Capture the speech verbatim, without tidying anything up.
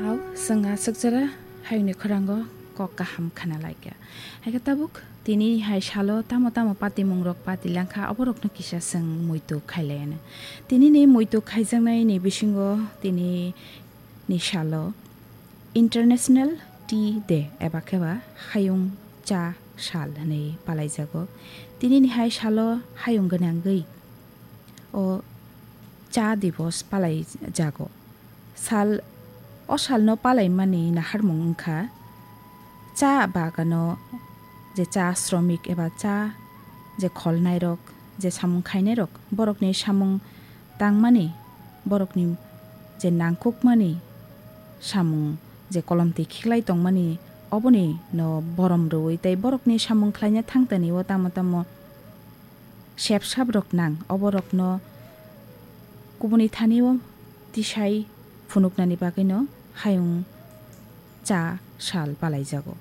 Au, chwng aswk jora hayungni khorang o kok kaham khna lai kha. Hai khe tabuk tini hai salo tamo tamo patimung rok pati lang kha, oborok no kisa chwng muitu khai lai anw. Tini ni muitu khaijaknai ni bisingo tini ni salo International Tea Day eba khe ba hayung cha sal hwnwi palai jago. Tini ni hai salo hayung gwnangwi o cha divos palai jago. Sal, o salno palaimani naharmung wngkha cha bagano je cha sromik eba cha je kholnairok, je samung khainairok, borokni samung tangmani, borokni je nangkukmani samung je kolomtwi khiklai tongmani, oboni no borom rwui tei borokni samung khlaina thangtani o tamo tamo sep sap rok nang, oborokno kubuni thani o tisai phunuknani bagwi no hayung cha sal palai jago.